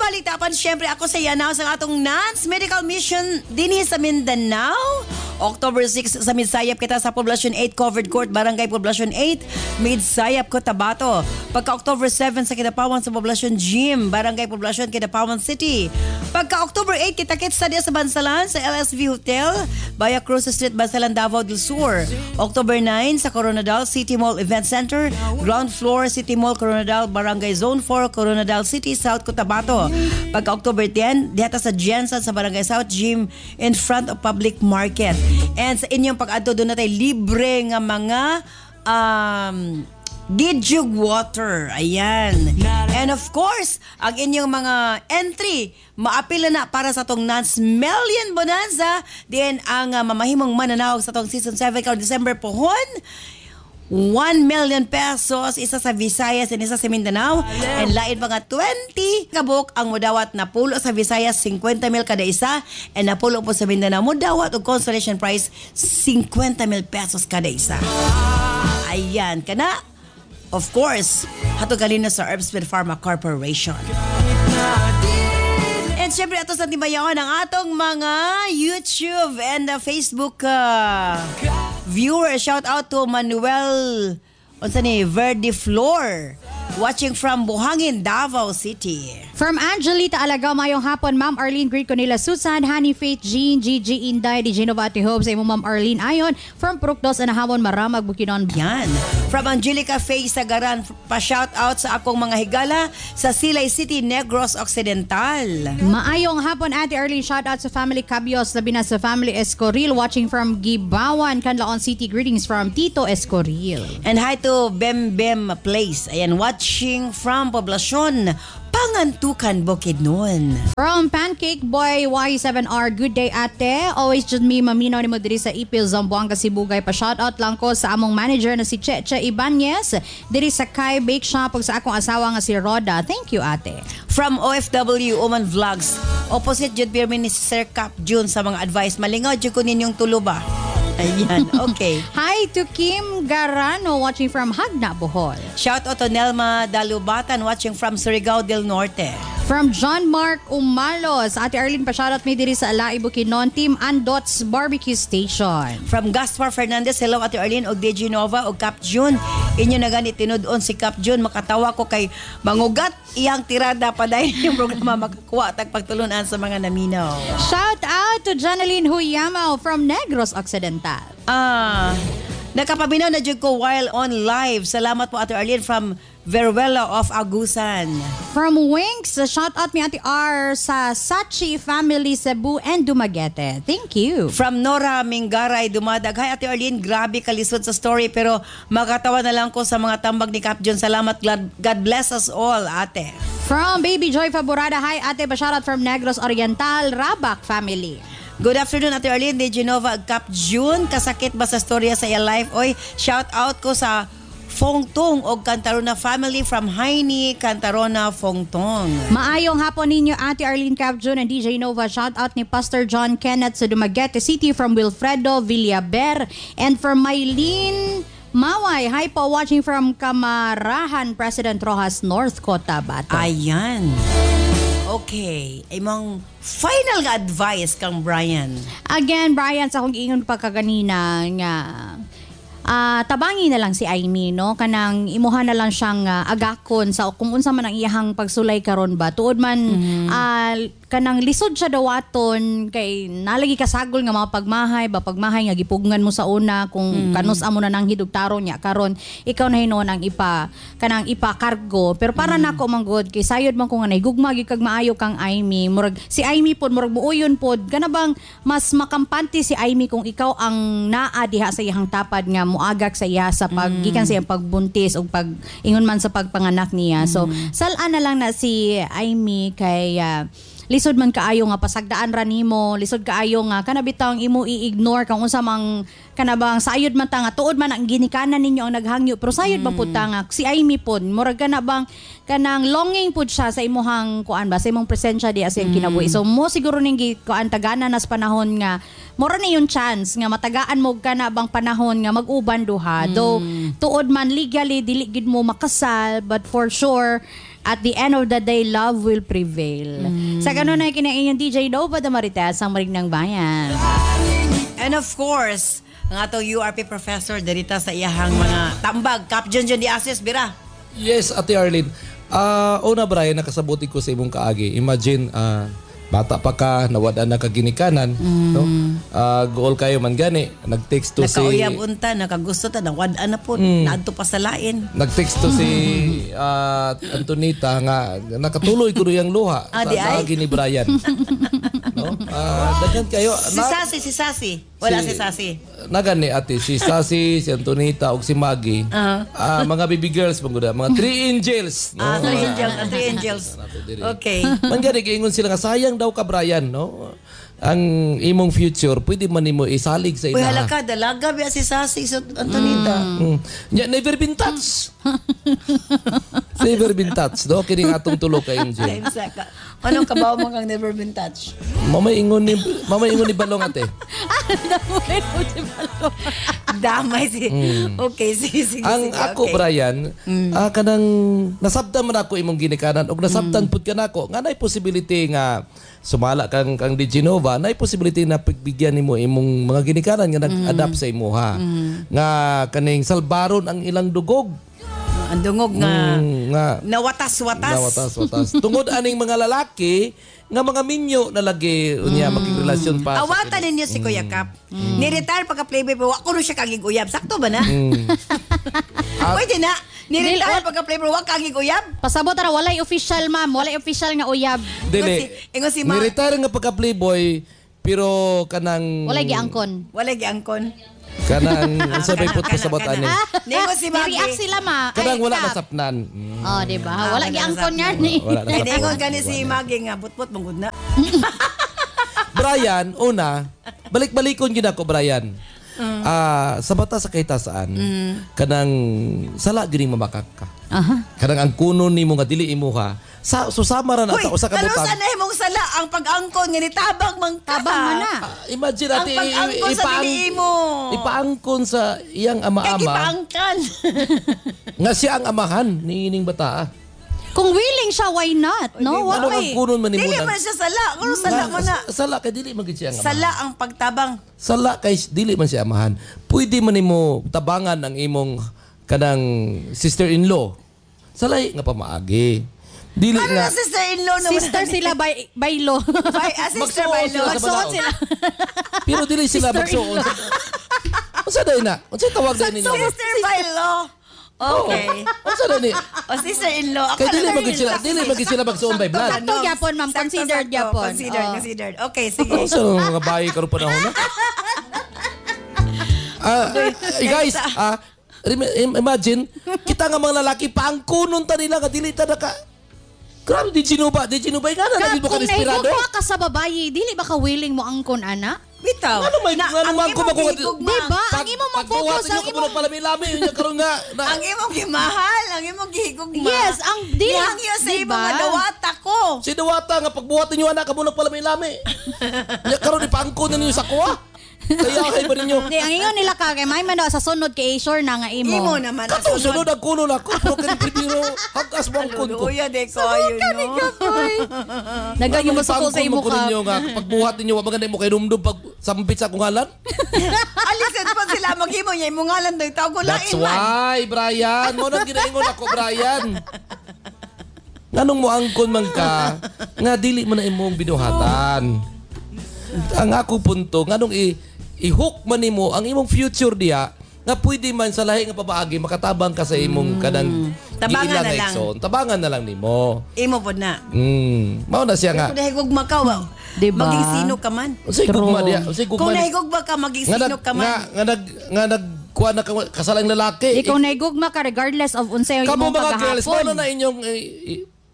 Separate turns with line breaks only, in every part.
Balita apan syempre ako sa i-announce ang atong Nance Medical Mission dinhi sa Mindanao. October 6 sa Midsayap kita sa Poblacion 8 Covered Court, Barangay Poblacion 8, Midsayap, Cotabato. Pagka October 7 sa Kidapawan sa Poblacion Gym, Barangay Poblacion, Kidapawan City. Pagka October 8 kita-kits sa diya sa Bansalan sa LSV Hotel, Baya Cruz Street, Bansalan, Davao del Sur. October 9 sa Koronadal City Mall Event Center, ground floor, City Mall Koronadal, Barangay Zone 4, Koronadal City, South Cotabato. Pagka October 10, diha ta sa Jensen sa Barangay South Gym in front of Public Market. And sa inyong pag-adto duna tay libre nga mga Gidjug water. Ayan. And of course, ang inyong mga entry, maapila na para sa atong Nance Million Bonanza. Din ang mamahimong mananawag sa atong Season 7 karon December pohon. 1 million pesos, isa sa Visayas and isa sa Mindanao. And lain mga 20 kabuk ang mudawat na pulo sa Visayas, 50 mil kada isa, and napulo po sa Mindanao mudawat og consolation prize 50 mil pesos kada isa. Ayan, kana of course, hatod kanino sa Herbsmith Pharma Corporation. And syempre, ato sa timayaon ang atong mga YouTube and Facebook viewers. Shout out to Manuel unsa ni Verde Flor watching from Buhangin, Davao City.
From Angelita Alagaw, mayong hapon, Ma'am Arlene, greet ko nila Susan, Honey Faith, Jean, Gigi Inday, DJ Nova, Ate Hope, sa imo Ma'am Arlene Ayon, from Prukdos, Anahawan, Maramag, Bukidnon.
Yan. From Angelica Faye Sagaran, pa-shout out sa akong mga higala sa Silay City, Negros Occidental.
Maayong hapon, Ate Arlene. Shout out sa family Cabios, labi na sa family Escoril, watching from Gibawan, Canlaon City. Greetings from Tito Escoril.
And hi to Bem Bem Place. Ayan, watching from Poblacion, Pangantukan, Bukidnon.
From Pancake Boy Y7R, good day, ate. Always jud mi maminaw nimo diri sa Ipil, Zamboanga, Sibugay. Pa shout out lang ko sa among manager na si Cheche Ibanez diri sa Kai Bake Shop ug sa akong asawa nga si Roda. Thank you, ate.
From OFW Oman Vlogs, opposite jud pirmi ni Sir Cap June sa mga advice. Malingaw jud ko ninyong tulo ba? Ayan, okay.
Hi to Kim Garano watching from Jagna, Bohol.
Shout out to Nelma Dalubatan watching from Surigao del Norte.
From John Mark Umalos, Ate Arlene, pa-shoutout mi diri sa Ala'i Bukidnon, Team Andots Barbecue Station.
From Gaspar Fernandez, hello Ate Arlene og DJ Nova og Cap June. Inyo na gani tinud-on si Cap June, makatawa ko kay mangugat iyang tirada padayon yung programa makakuha tag pagtulunan sa mga naminaw.
Shout out to Janeline Huyamaw from Negros Occidental.
Ah, nakapaminaw na jud ko while on live. Salamat po, Ate Arlene, from Veruela of Agusan.
From Winks, shout out mi Ate R sa Sachi Family Cebu and Dumaguete. Thank you.
From Nora Mingaray Dumadag. Hi Ate Arlene, grabe kalisod sa story pero makatawa na lang ko sa mga tambag ni Cap John. Salamat. God bless us all, ate.
From Baby Joy Faborada, hi ate, pa-shoutout from Negros Oriental, Rabac Family.
Good afternoon, Ate Arlene de Genova, Cap June. Kasakit ba sa storya sa iya life? Oy, shout out ko sa Fongtong og Cantarona family from Heine Cantarona Fongtong.
Maayong hapon ninyo, Ate Arlene, Cap June and DJ Nova. Shout out ni Pastor John Kenneth sa Dumaguete City from Wilfredo Villaber and from Mylene Maway. Hi po, watching from Kamarahan, President Rojas, North Cotabato.
Ayan. Okay. Imong final nga advice kang Brian.
Again, Brian, sa akong giingon pa kaganina nga tabangi na lang si Amy, no? Kanang imuha na lang siyang agakon sa kung unsa man ang iyahang pagsulay karon ba. Tuod man kanang lisod siya dawaton kay nalagi kasagol nga mga pagmahay ba, pagmahay nga gipugngan mo sa una kung kanus amo na nang hidugtaro niya karon ikaw na hinuon ang ipa kanang ipakargo. Pero para nako man gud kay sayod man ko nga nahigugma gyud kag maayo kang Amy, murag si Amy pod murag muuyon pod kana bang mas makampante si Amy kung ikaw ang naa diha sa iyang tapad nga muagak sa iya sa pag gikan sa iyang pagbuntis o pag ingon man sa pagpanganak niya. So sal-an na lang na si Amy kay lisod man kaayo nga pasagdaan ra nimo, lisod kaayo nga kana bitawng imo i-ignore kung unsa mang kana bang sayod man ta nga tuod man ang ginikanan ninyo ang naghangyo, pero sayod man pud ta nga si Amy pod murag kana bang kanang longing pud siya sa imuhang kuan ba, sa imong presensya diha sa iyang kinabuhi. So mo siguro ning kuan tagana nas panahon nga mura ni yung chance nga matagaan mo kana bang panahon nga mag-uban duha. Though tuod man legally dili gid mo makasal, but for sure At the end of the day, love will prevail. Sa ganun na kina inyong DJ Nova de Marites, ang Marig ng Bayan.
And of course, ang atong URP professor dirita sa iyahang mga tambag. Cap John John Diasis, bira.
Yes, Ate Arlene. Una, Brian, nakasabuti ko sa imong kaagi. Imagine, bata pa ka, nawad-an na ka ginikanan, no? Gool kayo man gani. Nag-text to si
Nakauyab unta, nakagusto ta, nawad-an na po, naadto pa sa lain.
Nag-text to si Antonita nga nakatuloy ko yung luha
Ah,
sa
di ay?
kaagi ni Brian. No? Daghan kayo.
Si Sasi, si Sasi. Wala si Sasi.
Nagani ate, si Sasi, si Antonita ug si Maggie. Mga baby girls man gud, mga three angels, no?
Ah, three angels, three angels. Okay.
Man gani giingon sila nga sayang daw ka, Brian, no? Ang imong future pwede man nimo isalig sa
Uy,
inaha.
hala ka, dalaga biya si Sasi sa Antonita.
Nya, never been touched. Never been touched, no? Kini atong tulo ka angel.
Ay, saka. Anong kabaw mo kang never been touched?
Mamay ingon ni Balong, ate.
Damay si. Okay, sige, sige.
Ang
sige,
ako,
okay.
Brian, kanang nasabtan man ako imong ginikanan og nasabtan pud ka nako nga nay possibility nga sumala kang kang di Genova, nay possibility na pagbigyan nimo imong mga ginikanan nga nag-adapt sa imuha. Nga kaning salbaron ang ilang dugog.
Ang dungog nga
Nga
nawatas-watas.
Nawatas, watas. Tungod aning mga lalaki nga mga minyo na lagi unya makigrelasyon pa.
Awatan ninyo si Kuya Kap. Ni-retire pagka playboy pero wa ko siya kagig uyab. Sakto ba na? Pwede na. Ni-retire pagka playboy wa kagig uyab.
Pasabot ra, walay official, ma'am, walay official nga uyab.
Dili.
Ingon si Ma-
Ni-retire nga pagka playboy pero kanang
Walay giangkon.
Walay giangkon.
Kanang unsa may put pasabot ani.
Ningon si Maggie.
Ni-react sila, ma.
Kanang
Ay,
wala
Kap.
nasapnan.
Oh, di ba? Wala
Wala
giangkon
nasapnan.
nga ni.
Wala nasapnan.
Ningon gani si Maggie nga butbut mangud na.
Brian, una, balik-balikon gyud ako, Brian. Sa bata sa kahitasaan, kanang sala gyud ning mamakak ka. Kanang ang kuno nimo nga dili imuha, sa susama ra na
Hoy,
sa usa ka
karon
butang.
sa na imong sala ang pag-angkon nga nitabang man ka.
Tabang man na.
Imagine
Ang
ate,
pag-angkon sa dili imo.
Ipaangkon sa iyang
Kay
ama-ama
gipaangkan.
nga siya ang amahan ni ining bataa.
Kung willing siya, why not? No?
Ano ang
Why?
kunon man nimo
Dili
na-
man siya sala. Kung sala mo na.
Sala kay dili man gid siya ang amahan.
Sala ang pagtabang.
Sala kay dili man siya amahan. Pwede man nimo tabangan ang imong kanang sister-in-law. Salay nga pamaagi. Dili
Ano
nga
na sister-in-law naman?
Sister sila by law.
By, sister
Magsuon
by
sila
law.
sa
Magsuot
balaod.
sila.
Pero dili sila magsuon. Unsa dai na? Unsa tawag dai ninyo?
Sister by law. Okay.
Unsa dai ni?
O sister-in-law. Ako
Kay dili
na-
man gid sila, dili man gid sila magsuon by blood.
Sakto gyapon, ma'am.
Sakto,
Considered
sakto.
gyapon.
Considered,
Oh.
considered. Okay, sige.
Unsa nang mga bayi karon panahon na? Guys, imagine kita nga mga lalaki paangkunon ta nila nga dili ta naka. Grabe, di ginuba, di ginuba nga na
Kap,
naging mo ka
kung
desperado.
nahigugma ka sa babayi, dili ba ka willing mo angkon, ana?
Bitaw.
Ano may-
Na,
ano
ang
man
imong
kung makuha-
gihigugma.
Di ba? Ang imong
Pagbuhat
mag-focus,
ninyo
ang
ka
imong
muna palami-lami, yun yung karon nga. Na,
Ang imong gimahal, ang imong gihigugma.
Yes, ang dili-
Nihangyo sa
di
imong
ba?
nga dawata ko.
si Diwata nga pagbuhat ninyo anak ka muna palami-lami. Nya karon ipaangkon na ninyo sa kuha. Kaya kay ba ninyo?
Di, ang ingon nila ka, kay may man daw sa sunod kay sure na nga imo.
Imo naman. ang
Katong sunod ang kuno na ako, pero kani primero hagas mo ang kun ko.
Luluya de ko ayun no.
Nagaging mo suko sa imo
ko
ka.
ninyo nga pagbuhat ninyo wa maganda mo kay rumdum pag sambit sa akong ngalan.
Alisin pa sila maghimo niya imong ngalan daw tawag ko
That's
lain man.
why, Brian. Mo nang ginaingon ako, Brian. Nganong mo angkon man ka, nga dili mo na imong binuhatan. Ang ako punto, nganong i-hook man nimo ang imong future diha, nga pwede man sa lahi nga pabaagi makatabang ka sa imong kanang
Tabangan
giila
na
nga
lang.
igsoon. Tabangan na lang nimo.
Imo pod na.
Mao na siya nga.
Kung nahigugma ka, wow.
Diba?
Maging sino ka man.
Unsay gugma diha? Unsay
Kung
gugma?
nahigugma ka, maging
Nga
sino
nag
ka man.
nga nag kuha na kasalang lalaki.
Ikaw nahigugma ka regardless of unsay
Kamo
imong
mga girls,
paghahapon.
mao na inyong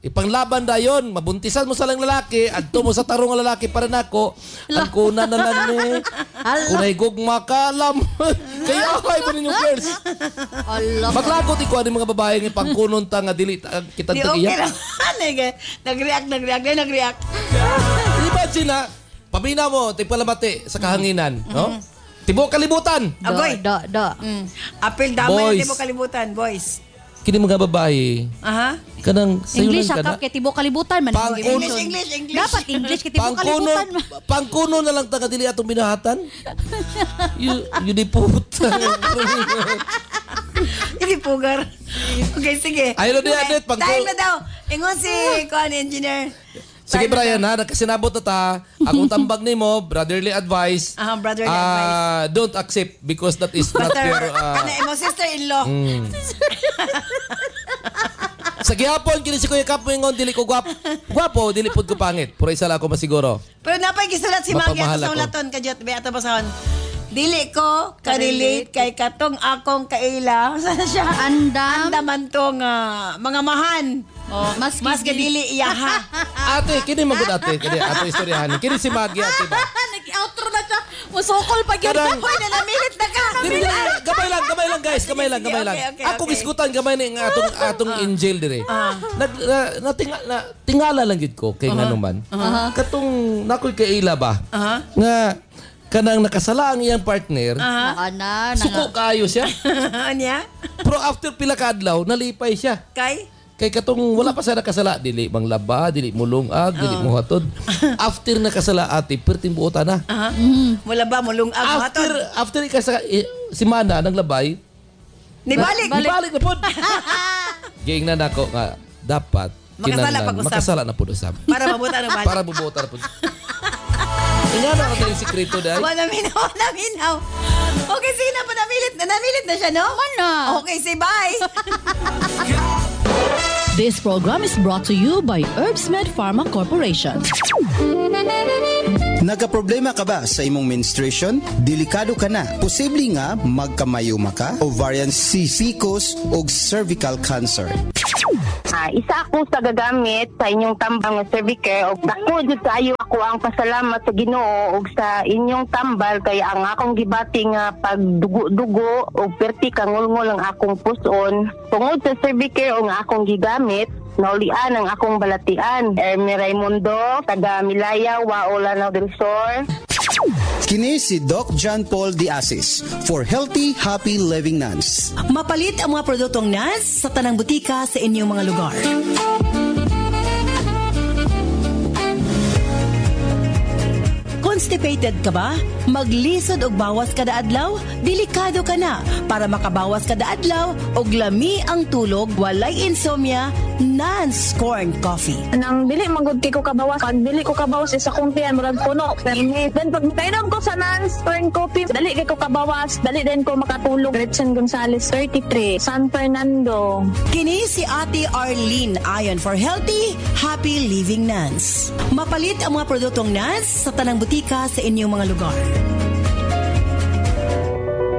ipanglaban dayon, mabuntisan mo sa lang lalaki, adto mo sa tarong nga lalaki para nako, ang kuna na lang ni. Kung nahigugma ka, alam. Kaya ay ba ninyo girls?
Allah.
Maglagot ikaw ani mga babae nga pangkunon ta nga dili ta kitang
Di okay
tagiya.
lang. Nag-react, nag-react, nag-react.
Imagine na, pamina mo, tigpalamati sa kahanginan, no? Tibuok kalibutan.
Agoy.
Do, do, do.
Apil damay
Boys.
na mo kalibutan, boys.
Kini mga babae,
Aha.
kanang sayo
English
lang ka na.
akap kay tibuok kalibutan man.
Pang-
English, English, English.
Dapat English kay tibuok
Pangkuno,
kalibutan man.
pangkuno na lang ta kadili atong binahatan. You di puta.
Hindi pugar. Okay, sige.
Ay, no, di, Adet,
Time na daw. Ingon si kuan engineer.
Sige Brian ha, nagkasinabot na ta. Akong tambag nimo, brotherly advice.
Aha, brotherly advice.
Don't accept because that is not
Brother,
your
ano, imo sister-in-law.
Sa gihapon kini si Kuya Kap moingon dili ko gwapo. Gwapo dili pud ko pangit. Puro isa lang ako masiguro.
Pero napay gisulat si Maggie
Mapamahal
ato sa
ako.
ulaton kadyot be ato basahon. Dili ko ka-relate kay katong akong kaila. Sana siya?
Andam.
Andaman to nga mga mahan.
Oh, maski
Maski dili iyaha.
Ate, kini magud ate, kini ato istoryahan. Kini si Maggie ate ba?
Nag-outro na siya. Musukol pa gyud.
Kanang-
Hoy, nanamilit na ka.
Dili, dili, gamay lang, gamay lang guys, gamay lang,
Sige,
gamay lang.
okay, okay,
Ako
okay.
gisgutan gamay ni nga atong atong angel dire. Nag na, natinga, na, tingala lang gid ko kay ngano man. Katong nakoy kaila ba? Nga kanang nakasala ang iyang partner.
Naka na, nanga.
Suko kaayo siya.
Anya?
Pero after pila ka adlaw, nalipay siya.
Kay?
Kay katong wala pa siya nakasala, dili manglaba, dili mulungag, dili muhatod. After nakasala ate, perting buota na.
Aha. Mula ba mulungag
After
hatod?
after ikasa simana ng labay,
Nibalik.
Balik na pod. Giingnan nako nga dapat
Makasala
kinahanglan,
pag-usab.
makasala na pud usab.
Para mabuta ng balik.
Para bubuota na pud. Ingana ka tayong sikreto dai.
Wala minaw, wala minaw. Okay, sige na, panamilit na. Namilit na siya, no?
Wala.
Okay, say bye.
This program is brought to you by HerbsMed Pharma Corporation.
Nagkaproblema ka ba sa imong menstruation? Delikado ka na. Posible nga magkamayoma ka, ovarian cyst, PCOS o cervical cancer.
Isa ako sa gagamit sa inyong tambal nga Cervicare og dako jud kaayo ako ang pasalamat sa Ginoo og sa inyong tambal kay ang akong gibati nga pagdugo-dugo og perti kangulngol ang akong puson tungod sa Cervicare og ang akong gigamit naulian ang akong balatian. Ermi Raimundo, taga Milaya, Wao, Lanao del Sur.
Kini si Doc John Paul de Asis for Healthy Happy Living Nuns.
Mapalit ang mga produktong NAS sa tanang butika sa inyong mga lugar. Constipated ka ba? Maglisod og bawas kada adlaw? Delikado ka na. Para makabawas kada adlaw og lami ang tulog, walay insomnia, Nance Corn Coffee.
Nang dili magud kay ko kabawas, pag dili ko kabawas isa kong tiyan murag puno. Permi. Then pag kainom ko sa Nance Corn Coffee, dali kay ko kabawas, dali din ko makatulog. Gretchen Gonzales, 33, San Fernando.
Kini si Ate Arlene ayon for healthy, happy living Nance. Mapalit ang mga produktong Nance sa tanang butika sa inyong mga lugar.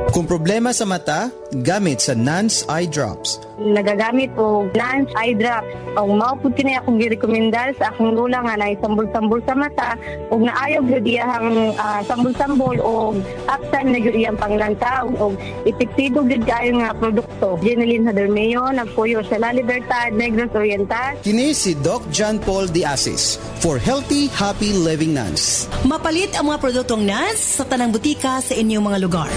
Kung problema sa mata, gamit sa Nance Eye Drops.
Nagagamit og Nance Eye Drops. Og mao pud kini akong girekomendar sa akong lula nga naay sambol-sambol sa mata ug naayo gyud iyang sambol-sambol og absan na gyud iyang panglantaw og epektibo gyud kaayo nga produkto. Jeneline Hadermeo, nagpuyo sa La Libertad, Negros Oriental.
Kini si Doc John Paul de Asis for Healthy Happy Living Nuns.
Mapalit ang mga produktong Nance sa tanang butika sa inyong mga lugar.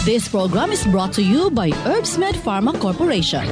This program is brought to you by HerbsMed Pharma Corporation.